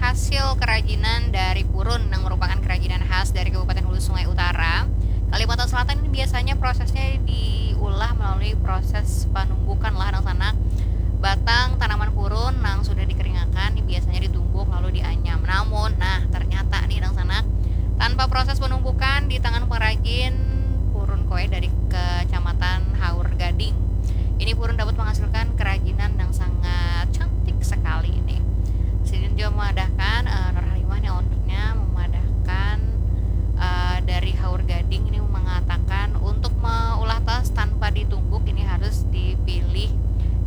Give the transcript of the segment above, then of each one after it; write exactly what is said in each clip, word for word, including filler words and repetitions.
Hasil kerajinan dari purun yang merupakan kerajinan khas dari Kabupaten Hulu Sungai Utara, Kalimantan Selatan ini biasanya prosesnya diulah melalui proses penumbukan lah, dangsanak. Batang tanaman purun yang sudah dikeringakan ini biasanya ditumbuk lalu dianyam. Namun, nah, ternyata nih, dangsanak, tanpa proses penumbukan di tangan pengrajin purun kue dari Kecamatan Haur Gading, ini purun dapat menghasilkan kerajinan yang sangat cantik sekali ini. Sidin juga memadahkan, uh, Nur Halimah nih, ownernya, memadahkan uh, dari Haur Gading ini mengatakan untuk meulah tas tanpa ditumbuk ini harus dipilih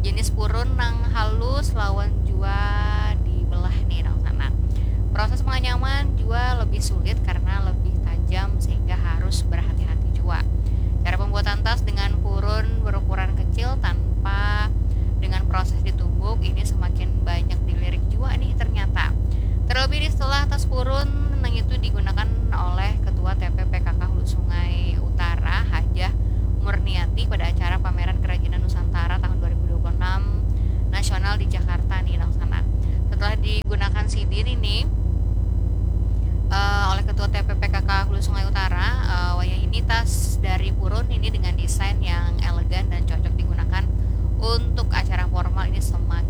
jenis purun yang halus lawan jua dibelah nih, dangsanak. Proses penganyaman juga lebih sulit karena lebih tajam sehingga harus berhati-hati juga. Cara pembuatan tas dengan purun berukuran kecil tanpa dengan proses ditumbuk ini semakin banyak dilirik juga nih ternyata. Terlebih di setelah tas purun yang itu digunakan oleh Ketua T P P K K Hulu Sungai Utara, Hajah Murniati, pada acara pameran kerajinan Nusantara tahun dua ribu dua puluh enam nasional di Jakarta nih, dangsanak. Setelah digunakan sidin ini uh, oleh Ketua T P P K K Hulu Sungai Utara, uh, wayah ini tas dari purun ini dengan desain yang elegan dan cocok digunakan untuk acara formal ini semakin